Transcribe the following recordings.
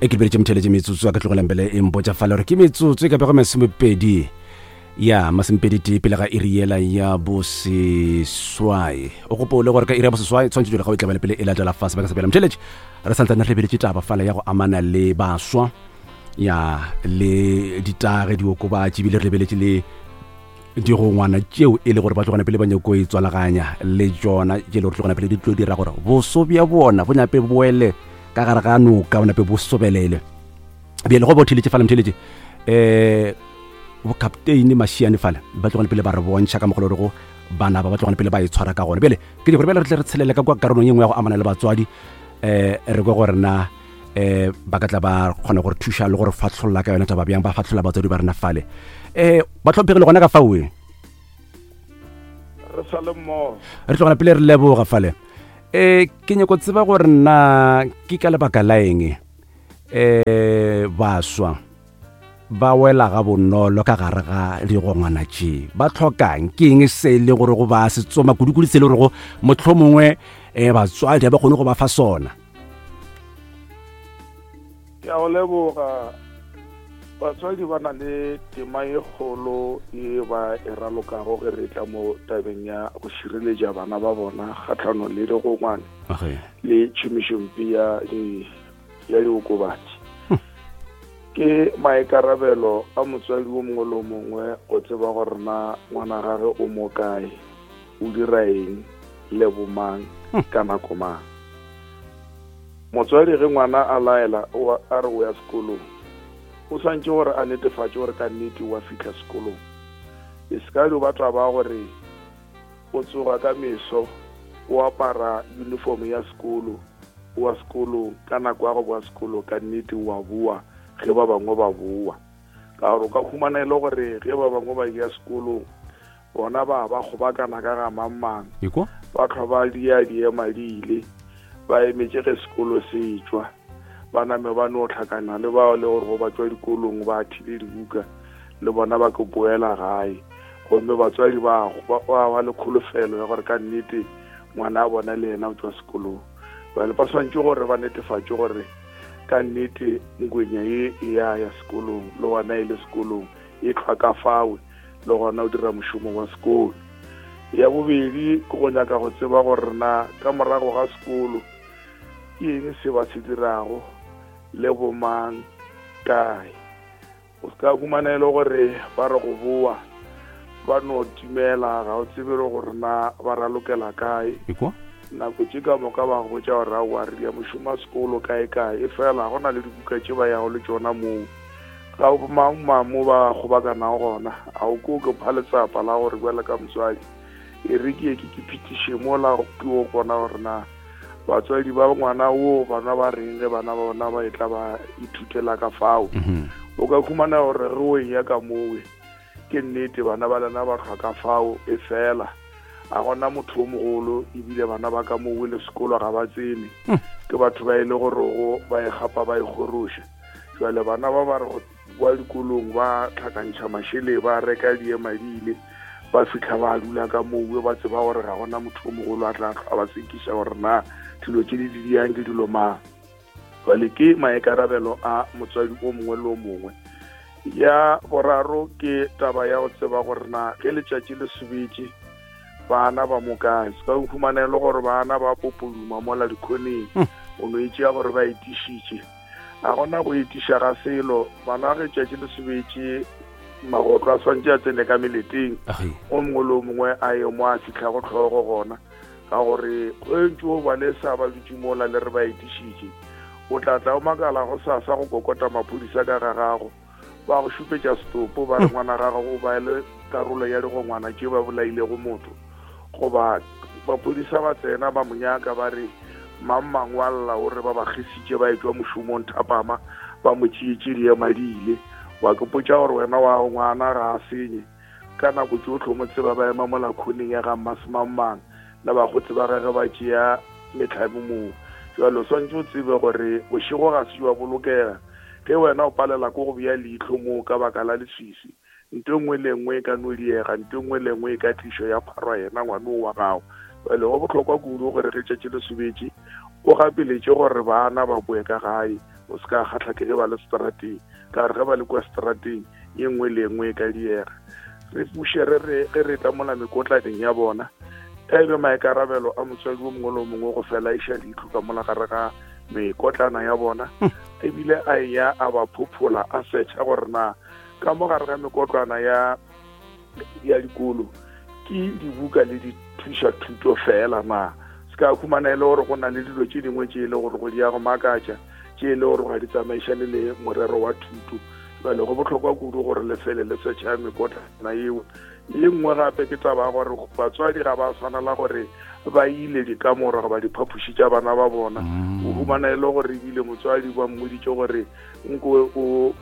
E ke lebeletše motheletše metsotso a ka tlogelang pele e mpotša fale gore ke metsotso e ka bego masomepedi ya masomepedi tee pele ga iri yela ya boseswai. O gopole gore ka iri ya boseswai tshwanetse jole ga o e tlabele pele e latela fa sebaka sa pele. Motheletše re santsane re lebeletše taba fale ya go amana le baswa ya le ditagi diokobatši ebile re lebeletše le digongwana tšeo e le gore ba tlogana pele ba nyako e tswalaganya le tšona tše le gore tlogana pele di tlo dira gore boso bja bona bo nyape boele ka gare ga noka bo nape bo sobelele. Bjale go bo theletše fale motheletše um bokapteine Mashiane fale ba tlogane pele ba re bontšha ka mogolo rego bana ba ba tlogane pele ba e tshwara ka gona. Bjale ke gore bjale re tle re tshelele ka kwa karolong ye nngwe ya go amana le batswadi um re kwe gore na um ba ka tla ba kgona gore thuša le gore fatlholla ka yona taba bjang, ba fatlholla batswadi ba rena fale um ba tlhomphegile gona ka faoe. Re sa le mmogo. Re tlogela pele re leboga fale. Um ke nyako tseba gore na ke ka lebaka la eng um baswa ba wela ga bonolo ka gare ga digongwana tše, ba tlhokang ke eng se e le gore go ba se tsoma kudu-kudu, se e le gore go mohlomongwe um batswadi ga ba kgone go ba fa sona? Ke a go leboga. Batswadi ba na le tema e kgolo e ba e ralokago ge re tla mo tabeng ya go šireletša bana ba bona kgatlhanong le digongwane le tšhomišompe ya ya diokobatši. Ke maikarabelo a motswadi o mongwe le o mongwe go tseba gore na ngwana gage o mo kae, o dira eng le bomang ka nako mang. Motswadi ge ngwana a laela a re o ya sekolong, o swantše gore a netefatše gore ka nnete o a fihla sekolong. E se ka dio ba taba gore o tsoga ka meso o apara uniform ya sekolo, o wa sekolong ka nako ya go boa sekolong, ka nnete o a boa ge ba bangwe ba boa. Ka gore o ka humana e le gore ge ba bangwe ba ya sekolong, bona ba ba kgobakana ka ga mang-mang, ba hlwa ba dia diema di ile, ba emetše ge sekolo se etšwa, ba name ba no hlakana le bao le gore go ba tšwa dikolong ba thile dibuka, le bona ba ke boela gae. Gomme batswadi ba ba ba le kholofelo ya gore ka nnete ngwana a bona le yena o tšwa sekolong. Bjale ba swantše gore ba netefatše gore ka nnete ngwenya ye e ya ya sekolong, le gona e le sekolong, e hlwa ka fawe, le gona o dira mošomo wa sekolo. Ya bobedi ke go nyaka go tseba gore na ka morago ga sekolo ke eng se ba se dirago le bomang kae. O se ka humana e le gore ba re go boa ba no timela, ga o tsebe le gore na ba ralokela kae. Nako tše ka moka ba go botša gore aowa re ya mošomo wa sekolo kae kae, e fela go na le dibuka tše ba yago le tšona moo. Ga o mang mang mo ba kgobakanago gona, a o ko ke pha letsapa la gore bjale ka motswadi e re ke ye ke ke phetiše mola ke o bona gore na batswadi ba ngwana wo bana ba reng ge bana ba bona ba etla ba ithutela ka fao. O ka khumana gore re o eya ka mowe ke nnete bana ba lena ba hlwa ka fao, e fela a gona motho o mogolo, ebile bana ba ka mowe le sekolo ga ba tsene, ke batho ba e le gorego ba e gapa ba e kgoroša. Jwale bana ba ba re go kwa dikolong ba tlhakantšha mašele, ba reka diema di ile, ba fihla ba dula ka mowe, ba tseba gore ga gona motho o mogolo a tla hlwa ba sekiša gore na dilo tše di di diang ke dilo mang. Jwale ke maikarabelo a motswadi o mongwe le o mongwe. Ya boraro ke taba ya go tseba gore na ge letšatši le sobetše bana ba mo kae. Se ka humana e le gore bana ba popoduma mola dikhoneng, o no e tšea gore ba etišitše. A gona go etiša ga selo. Bana ge tšatši le sobetše magotlo a swantše a tsene ka meleteng, o mongwe le o mongwe a ye mo a fihlago tlhogo gona, ka gore ge ntše o ba lesa ba dutše mola le re ba etišitše, o tla tla o makala go sasa go kokota maphodisa ka ga gago, ba go šupetša setopo, ba re ngwana gago o ba le karolo ya digongwana tše ba bolailego motho. Goba maphodisa ba tsena ba mo nyaka, ba re mang mang wa lla o re ba ba kgesitše ba etšwa mošomong thapama, ba mo tšeetše diema di ile. Wa ke potša gore wena wa ngwana ga a senye, ka nako tšohle o mo tseba ba ema mola khoneng ya ga mmasemangmang le bakgotsi ba gage ba tšea mehlame moo. Jwale o swantše o tsebe gore bošego ga se jwa bolokega ge wena o palela ko go bea leihlo moo ka baka la leswiswi. Nto e nngwe le e nngwe e ka no diega, nto e nngwe le e nngwe e ka tlišwa ya pharwa yena ngwanoo wa gago. Bjale go bohlokwa kudu gore ge tšatši le sobetše, o gapeletše gore bana ba boe ka gae. O se ka kgatlha ke ge ba le seterateng, ka gore ge ba le kua seterateng ye nngwe le ye nngwe e ka diega. Re buše re re ge re tla mola mekotlaneng ya bona, e be maikarabelo a motswadi o mongwe le o mongwe go fela iša leihlo ka mola gare ga mekotlana ya bona, ebile a eya a ba phophola a setšha gore na ka mo gare ga mekotlwana ya ya dikolo ke dibuka le dithuša thuto fela na. Se ka humana e le gore go na le dilo tše dingwe tše e le gore go di ya go makatša, tše e le gore ga di tsamaišane le morero wa thuto. Bjale go bohlokwa kudu gore le fele le setšha mekotlana yeo. Ye nngwe gape ke taba ya gore batswadi ga ba swanela gore ba ile dikamora goba diphapoši tša bana ba bona. O humana e le gore ebile motswadi ba mmoditše gore nko o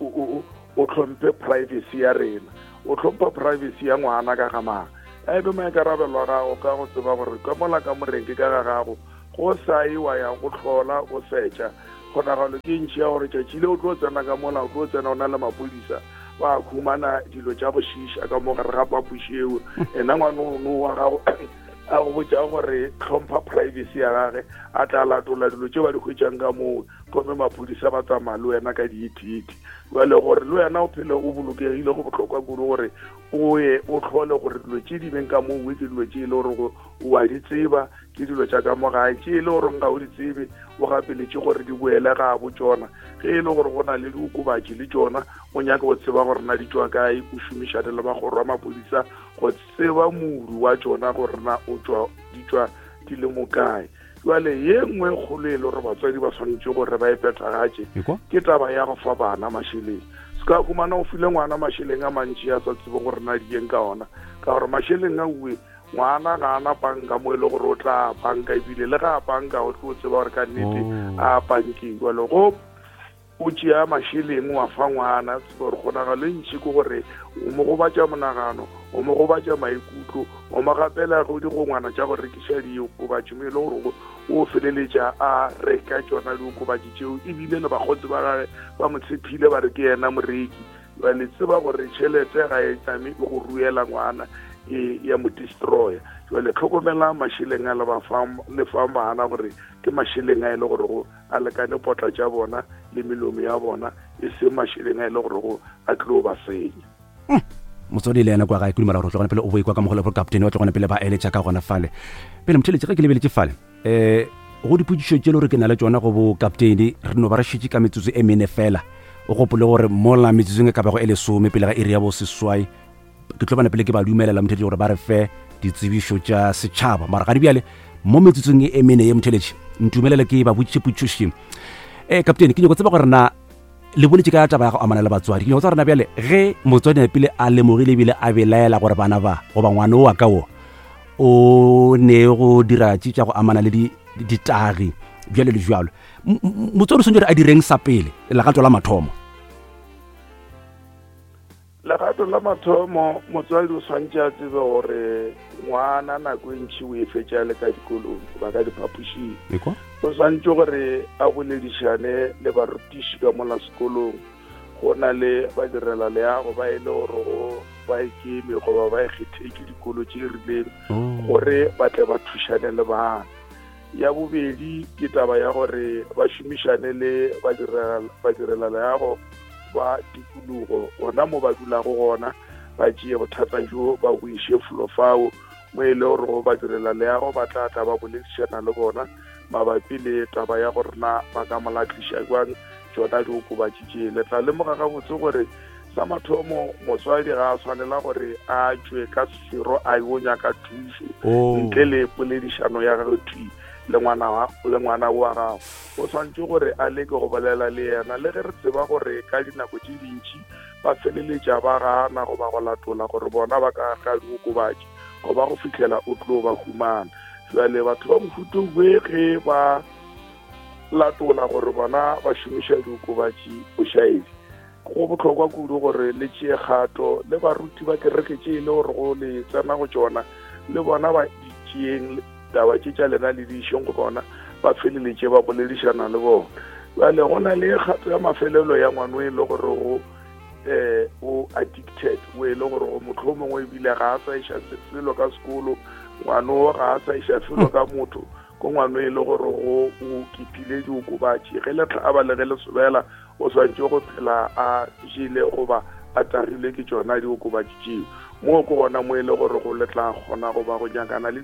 o hlomphe privacy ya rena. O hlompha privacy ya ngwana ka ga mang? A e be maikarabelo a gago ka go tseba gore ka mola kamoreng ke ka ga gago, go sa ye wa ya go hlola o setša. Kgonagalo ke ntši ya gore tšatši le o tlo tsena ka mola, o tlo tsena o na le maphodisa, ba khumana dilo tša go šiiša ka mo gare ga phapoši eo. Ena ngwana ono wa gago a go botša gore hlompha privacy ya gage, a tla latola dilo tše ba di hwetšang ka moo, gomme maphodisa ba tsamaya le wena ka diithiti. Bjale gore le wena o phele o bolokegile, go bohlokwa kudu gore o ye o hlole gore dilo tše di beng ka moo ke dilo tše e le gore o a di tseba, ke dilo tša ka mo gae. Tše e le gore ga o di tsebe, o gapeletše gore di boele ga bo tšona. Ge e le gore go na le diokobatši le tšona, o nyaka go tseba gore na di tšwa kae, o šomišane le magoro a maphodisa go tseba modu wa tšona gore na o tšwa di tšwa di le mo kae. Jwale ye nngwe kgolo e le gore batswadi ba swanetše gore ba e phethagatše ke taba ya go fa bana mašeleng. Se ka humana o file ngwana mašeleng a mantši a sa tsebe gore na dieng ka ona, ka gore mašeleng a uwe ngwana ga ana banka mo e le gore o tla banka, ebile le ga a banka o tlo tseba gore ka nnete a bankeng. Jwale go o tšea mašeleng wa fa ngwana, gore kgonagalo e ntši ke gore o mo gobatša monagano, o mo gobatša maikutlo, o mo gapela go digongwana tša go rekiša diokobatši mo e le gore o feleletša a reka tšona diokobatši tšeo, ebile le bakgotsi ba gage ba mo tshephile ba re ke yena moreki. Bjale tseba gore tšhelete ga e tšame e go ruela ngwana, e ya mo destroya. Jwale tlhokomelang mašeleng a le ba fang, le fang bana gore ke mašeleng a e le gore go a lekane potla tša bona le melomo ya bona, e seng mašeleng a e le gore go a tlo ba senya. Motswadi le yena kwa gae, ke dumela gore o tlogone pele o boikwa ka mogolo gore kaptene wa tlogone pele ba eletša ka gona fale. Pele motheletše ge ke lebeletše fale, go dipotšišo tše le gore ke na le tšona go bo kaptene, re no ba re šetše ka metsotso e mene fela. O gopole gore mola metsotsong e ka bago e lesome pele ga iri ya boseswai, ke tlo bana pele ke ba dumelela motheletši gore ba re fe ditsebišo tša setšhaba. Mara ga di bjale mo metsotsong e mene ye motheletši, ntumelele ke ba botšiše potšišo. Kaptene, ke nyako tseba gore na le boletše ka taba ya go amana le batswadi. Ke nyako tseba gore na bjale ge motswadi a pele a lemogile ebile a belaela gore bana ba goba ngwana o wa ka wo o ne go dira tše tša go amana le ditagi bjale le bjalo, motswadi o swanetše gore a direng sa pele legato la mathomo? Legato la mathomo, motswadi o swanetše a tsebe gore ngwana nako e ntši o e fetša le ka dikolong goba ka diphapošing. O swanetše gore a boledišane le barutiši ka mola sekolong. Go na le badirela leago ba e le gore go ba ikeme goba ba ikgethetše dikolo tše rileng gore ba tle ba thušane le bana. Ya bobedi ke taba ya gore ba šomišane le badirela leago ba tikologo gona mo ba dulago gona, ba tšee bothata bjo ba bo iše felo fao mo e le gore go badirela leago ba tla tla ba boledišana le bona mabapi le taba ya gore na ba ka mo latliša jwang tšona diokobatši tše. Le tla lemoga gabotse gore sa mathomo motswadi ga a swanela gore a tšwe ka sefero a yo nyaka thušo ntle le poledišano ya gagwe thwi le ngwana wa gago. O swanetše gore a leke go bolela le yena, le ge re tseba gore ka dinako tše dintši ba feleletša ba gana goba go latola gore bona ba ka ga diokobatši goba go fihlela o tlo ba humana. Jwale batho ba mohuta we ge ba latola gore bona ba šomiša diokobatši bošaedi, go bohlokwa kudu gore le tšee kgato le baruti ba kereke tše e le gore go le tsena go tšona, le bona ba di tšeeng taba tše tša lena le di išeng go bona, ba feleletše ba boledišana le bona. Bjale go na le kgato ya mafelelo ya ngwano e le gore go o addicted, o e le gore go mohlomongwe ebile ga a sa iša selo ka sekolo, ngwano ga a sa iša selo ka motho. Ko ngwano e le gore go o kipile diokobatši ge le hlaba le ge le sobela o swanetše go phela a jele goba a tagilwe ke tšona diokobatši tšeo. Moo ke gona mo e le gore go le tla kgona goba go nyakana le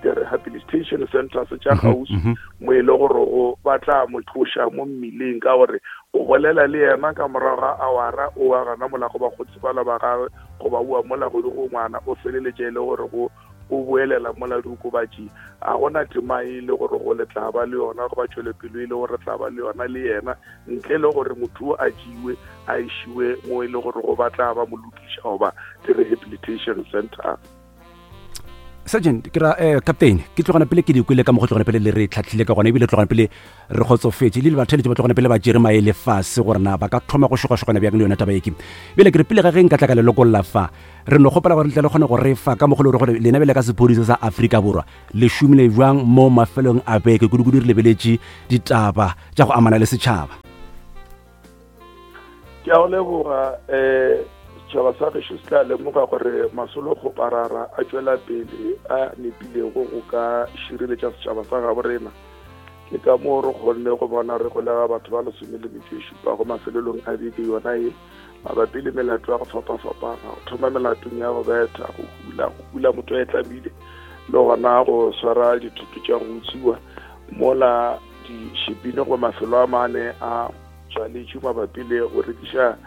di-rehabilitation centers tša kgauswi mo e le gore go ba tla mo tloša mo mmileng, ka gore o bolela le yena ka morago ga awara o wa gana mola go bakgotsi bala ba gagwe goba oa mola go go ngwana o feleletša e le gore go o boelela mola diokobatši. A gona tema e le gore go le tla ba le yona goba tšwelopelo e le gore tla ba le yona le yena, ntle le gore motho o a tšiwe a išiwe mo e le gore go ba tla ba mo lokiša goba di-rehabilitation center. Sergeant, ke ra captain, ke tlogana pele ke di kwele ka mo go tlogana pele le re tlhatlhile ka gona, ebile tlogana pele re kgotsofetše le le batheletše ba tlogana pele ba tšere maele fase gore na ba ka thoma go šogašogana bjang le yona taba eke. Bjale ke re pele ga ge nka tla ka le lokolla fa, re no kgopela gore le tle le kgone go re fa ka mokgwa le gore lena bjale ka sephodisa sa Afrika Borwa le šomile bjang mo mafelong a beke, kudu-kudu re lebeletše ditaba tša go amana le setšhaba. Ke a go leboga. Um setšhaba sa gešo se tla lemoga gore masolokgoparara a tšwela pele a nepilego go ka šireletša setšhaba sa gabo rena. Ke ka moo re kgonne go bona re golega batho ba 17 mafelelong a beke yona ye mabapi le melato ya go fapafapana, go thoma melatong ya go betha, go hula, go hula motho a e tlamile, le gona go swara dithoto tša go utswiwa mola dišipine go mafelo a mane a tswaletšwe mabapi le go rekiša.